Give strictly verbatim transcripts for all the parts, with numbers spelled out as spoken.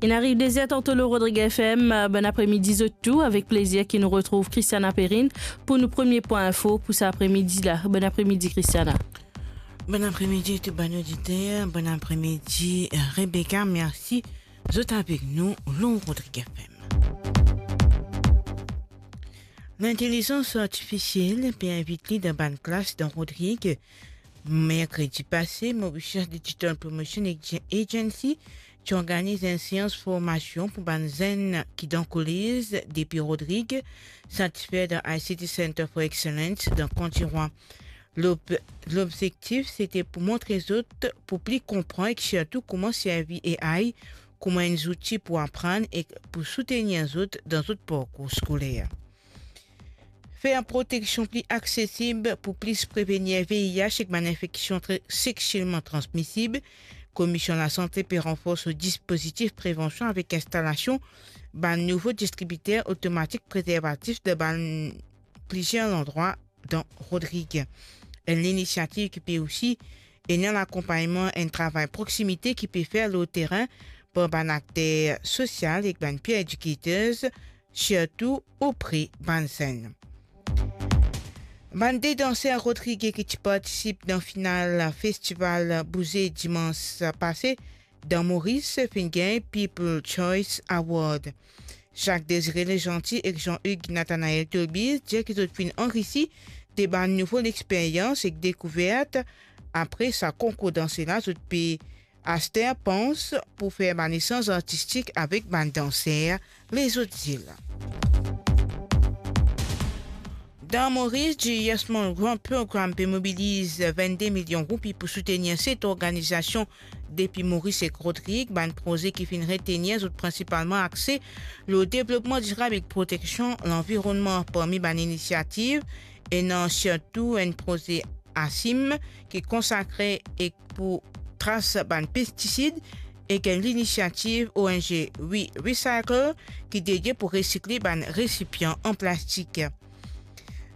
Inn ariv de zer tanto lor Rodrig F M, bonn apremidi zot tou, avek plezir ki nou retrouv Christiana Perrine pou nou premie pwin info pou sa apremidi la. Bonn apremidi, Christiana. Bonn apremidi tou bann oditer, bonn apremidi, Rebecca, mersi zot avek nou lor Rodrig F M. Lintelizans artifisiel pe invit li dan bann klas dan Rodrig. Merkredi pase, Mauritius Digital Promotion Ag-, Agency ti organiz enn seans formasion pou bann zenn ki dan kolez depi Rodrig, satisfer dan I C T Center for Excellence dan County Roi. Lob-, lobzektif, sete pou montre zot, pou pli konpran ek sirtou kouma servi A I kouma enn zouti pou aprann ek pou soutenir zot dan zot parkour skoler. Fer proteksion pli aksesib pou plis prevenir V I H ek bann infeksion tre-, sexielman transmisib. Komisyon Lasante pe ranfors so dispozitif prevansion avek instalasion bann nouvo distribiter otomatik prezervatif dan bann plizier landrwa dan Rodrig. Enn linisiativ ki pe osi ena lakonpagnman enn travay proksimite ki pe fer lor terin par bann akter sosial ek bann peer educators, sirtou opre bann zenn. Bann de danser Rodrig ki ti partisip dan final festival Bouze dimans pase dan Moris finn gagn People Choice Award. Jacques Désiré Legentil ek Jean-Hugues Nathanaël Tolbiz dir ki zot finn anrisi de bann nouvo lexperyans ek dekouvert apre sa konkour dans la. Zot pe aster pans pou fer bann esanz artistik avek bann danser lezot zil. Dan Moris, Julius Malmgrove Program pe mobiliz vennde milion roupi pou soutenir set organizasion depi Moris ek Rodrig. Bann proze ki finn retenir zot prinsipalman axe lor devlopman dirab ek proteksion lanvironnman. Parmi bann inisiativ, ena sirtou enn proze ASIM ki konsakre ek pou tras bann pestisid, ek enn linisiativ O N G We Recycle ki dedie pou resikle bann resipian an plastik.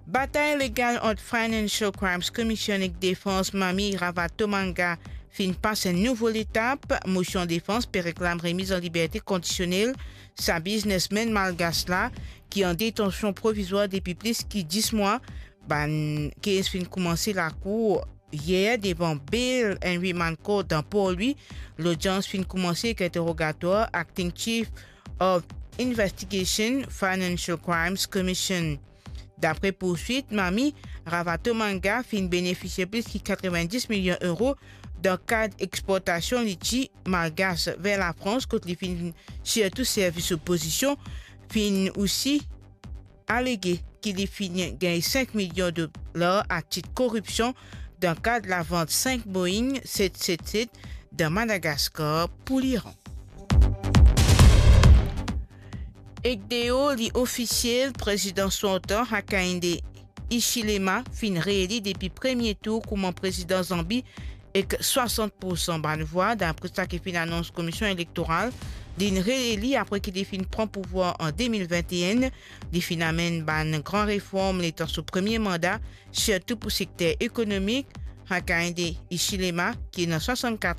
Batay legal ant Financial Crimes Commission ek defans Mami Ravatomanga finn pas enn nouvo letap. Mosion defans pe reklam remiz an liberte kondisionel sa biznesmenn malgas la, ki an detansion provizwar depi plis ki dis mwa. Bann kes finn koumanse lakour yer devan Bail and Remand Court dan Port Louis. Lodians finn koumanse ek interogatwar Acting Chief of Investigation, Financial Crimes Commission. Dapre pourswit, Mami Ravatomanga finn benefisie plis ki katrevenndis milion euro dan kad exportasion liti malgas ver Lafrans, kot li finn sirtou servi so pozision, finn osi alege ki li finn gagn senk milion dolar atit koripsion dan kad lavant senk Boeing set set set dan Madagaskar pou Liran. Ek deor li ofisiel, prezidan sortan Hakainde Hichilema finn reeli depi premie tour kouma prezidan Zanbi ek swasant poursan bann vwa, dapre sa ki finn anons Komisyon Elektoral. Linn reeli apre ki li finn pran pouvwar an de mil vennteen. Li finn amenn bann gran reform letan so premie manda, sirtou pou sekter ekonomik. Hakainde Hichilema, ki ena swasannkat